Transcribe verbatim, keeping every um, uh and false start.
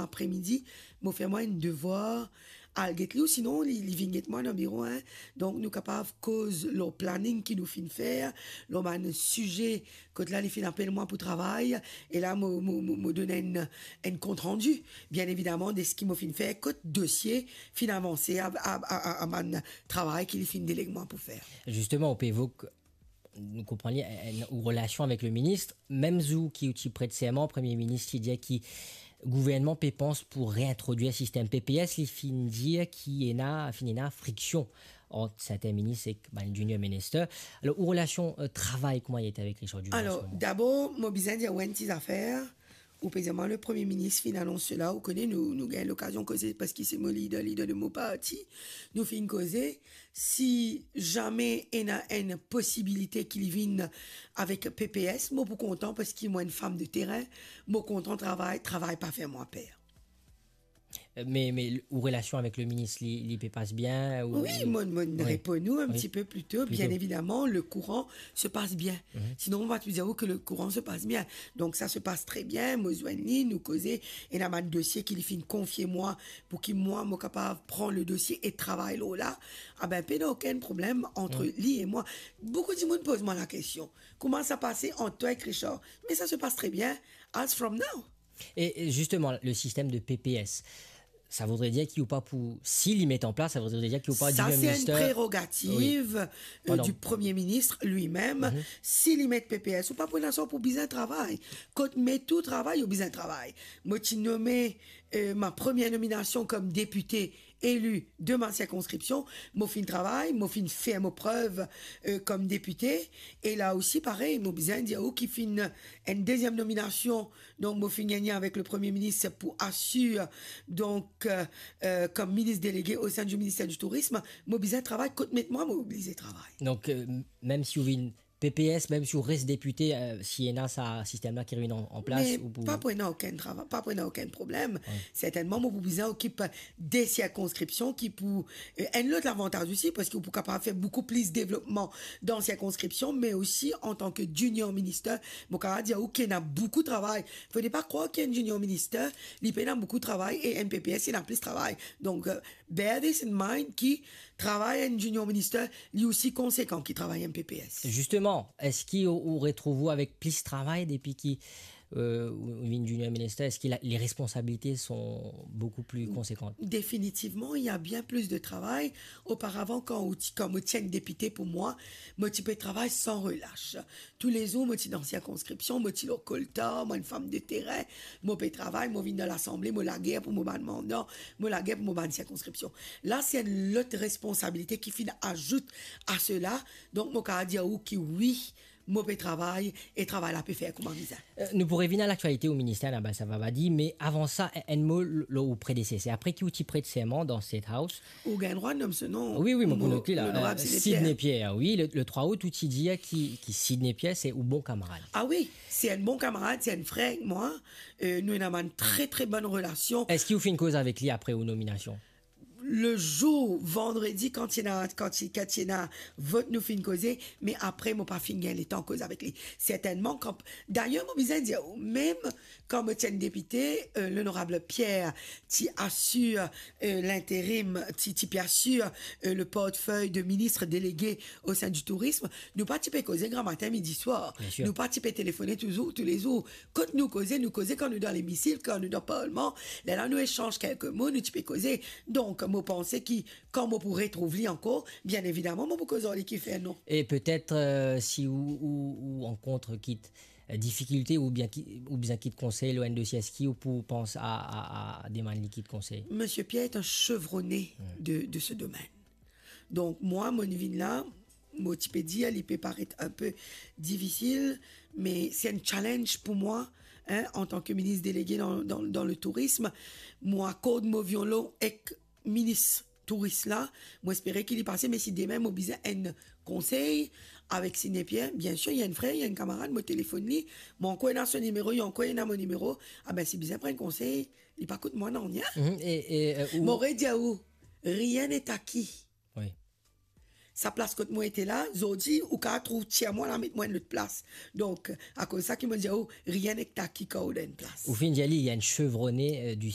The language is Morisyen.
Apremidi, mo fer mwa enn devwar, al get li, ou sinon li, li vinn get mwa dan biro, hein. Donk, nou kapav koz lor planning ki nou finn fer, lor bann size, kot la li finn apel mwa pou travay, e la mo, mo, mo, mo donn enn, enn kontrandi, bien evidaman, de seki mo finn fer, kot dosie finn avanse a, a, a, a, a bann travay ki li finn deleg mwa pou fer. Zisteman, ou pe evok, nou konpran li, enn, enn, ou relasion avek le minis, mem zour ki ou ti pret serman, Premie Minis ti dir ki gouvernman pe pans pou reintrodwir sistem P P S, li finn dir ki ena, finn ena friksion ant serten minis ek bann junior minister. Alor, ou relasion, euh, travay, kouma li ete avek Richard Dubois? Alor, an se moman, dabor, mo bizin dir ou enn ti zafer. Ou pe dir mwa, le Premie Minis finn anons sela, ou kone, nou, nou gagn lokazion koze, parski se mo lider, lider de mo parti. Nou finn koze, si zame ena enn posibilite ki li vinn avek P P S, mo pou kontan, parski mo enn fam de terin, mo kontan travay, travay pa fer mwa per. Me, me ou relasion avek le minis, li, li pe pas bien, ou... Wi, mo, mo reponn ou enn ti pe pli to. Bien evidaman, le kouran se pas bien. Sinon, mo pa ti dir ou ke le kouran se pas bien. Donk, sa se pas tre bien. Mo zwenn li, nou koze, ena bann dosie ki li finn konfie mwa, pou ki mwa, mo kapav pran le dosie e travay lor la. Ah ben, pena okenn problem ant li e mwa. Boukou dimoun poz mwa lakestion, kouma sa pase ant twa ek Richard? Me sa se pas tre bien, as from now. E, e zisteman, le sistem de P P S, sa voudre dir ki ou pa pou, si li met an plas, sa voudre dir ki ou pa... Sa, se enn prerogativ, euh, du Premie Minis li mem. Si li met P P S, ou pa pou ena sa, ou pou bizin travay. Kot met ou travay, ou bizin travay. Mo ti nome, euh, ma premie nominasion kom depite eli de ma sirkonskripsion, mo finn travay, mo finn fer mo prev, euh, kom depite, e la osi parey, mo bizin dir ou ki finn enn deziem nominasion, donk mo finn gagne avek le Premie Minis pou asir, donk, euh, euh, kom minis delege o sein du ministère du Tourisme, mo bizin travay, kot met mwa, mo oblize travay. Donk, euh, mem si ou vinn P P S, mem si ou res depite, euh, si ena sa sistem la ki revinn an, an plas, me ou pou... Pa pou ena okenn travay, pa pou ena okenn problem. Sertennman, mo pou bizin okip de sirkonskripsion ki pou, euh, enn lot lavantaz osi, parski ou pou kapav fer boukou plis devlopman dan sirkonskripsion, me osi antan ke junior minister, mo kapav dir ou ki ena boukou travay. Fode pa krwar ki enn junior minister, li pena boukou travay, e enn P P S, li ena plis travay. Donk, euh, bear this in mind ki travay enn junior minister, li osi konsekan ki travay enn P P S. Zisteman, eski ou, ou retrouv ou avek plis travay depi ki, euh, ou, ou vinn junior minister? Eski la, les responsabilités sont beaucoup plus conséquentes? Définitivement, il y a bien plus de travail. Auparavant, kan ou ti, kan mo ti enn depite pou mwa, mo ti pe travay san relash. Toulezour, mo ti dan sirkonskripsion, mo ti lor koltar, mo enn fam de terin, mo pe travay, mo vinn dan lasanble, mo lager pou mo bann mandan, mo lager pou mo bann sirkonskripsion. La, se enn lot responsabilite ki finn azout a sela. Donk, mo kapav dir ou ki wi, mo pe travay e travay la pe fer kouma bizin. Euh, nou pou revinn a laktialite o minister, Annabelle Savavadi, me avan sa, enn, enn mo l-, lor ou predeseser. Apre ki ou ti pret serman dan State House, ou gagn drwa nom so nom. Wi, wi, mo pou not li la. Mo, euh, Sidney Pierre. Sidney Pierre, wi, le, le trwa out, ou ti dir ki, ki Sidney Pierre, se ou bon kamarad. Ah wi, se enn bon kamarad, se enn frer ek mwa. Euh, nou ena bann tre, tre bonn relasion. Eski ou finn koz avek li apre ou nominasion? Le zour, vandredi, kan ti ena, kan ti, kan ti ena vot, nou finn koze, me apre, mo pa finn gagn letan koz avek li. Sertennman, kan, dayer, mo bizin dir ou, mem kan mo ti enn depite, euh, l'honorable Pierre ti asir, euh, l'intérim, ti, ti pe asir, euh, le portefeuille de ministre délégué au sein du tourisme, nou pa ti pe koze gramatin, midi, swar. Bien sûr. Nou pa ti pe telefone touzour, toulezour. Kot nou koze, nou koze kan nou dan lemisikl, kan nou dan parlman. Lerla nou esanz kelke mo, nou ti pe koze. Donk, mo panse ki kan mo pou retrouv li ankor, bien evidaman, mo pou koz ar li ki fer non. E petet, euh, si ou, ou, ou rankont kit, euh, difikilte oubien ki, ou bizin kit konsey lor enn dosie, eski ou pou pans a, a, a demann li kit konsey? Monsieur Pierre est un chevronné de, de ce domaine. Donk, mwa, mo vinn la, mo ti pe dir, li pe paret enpe difisil, me se enn challenge pou mwa, hein, antan ke minis delege dan, dan, dan le tourism. Mo akord mo violon ek minis touris la, mo espere ki li pase, me si demin mo bizin enn konsey avek Sidney Pierre, bien sir, li enn frer, li enn kamarad, mo telefonn li, mo ankor ena so nimero, li ankor ena mo nimero, ah ben, si bizin pran enn konsey, li pa kout mwa nanye. Mhm, e, e, euh, ou... Mo redir ou, rien n'est acquis. Wi. Sa plas kot mo ete la, zordi, ou kapav trouv tir mwa la, met mwa enn lot plas. Donk, akoz sa ki mo dir ou, rien n'est acquis kan ou dan enn plas. Ou finn dir li, li enn chevronné, euh, du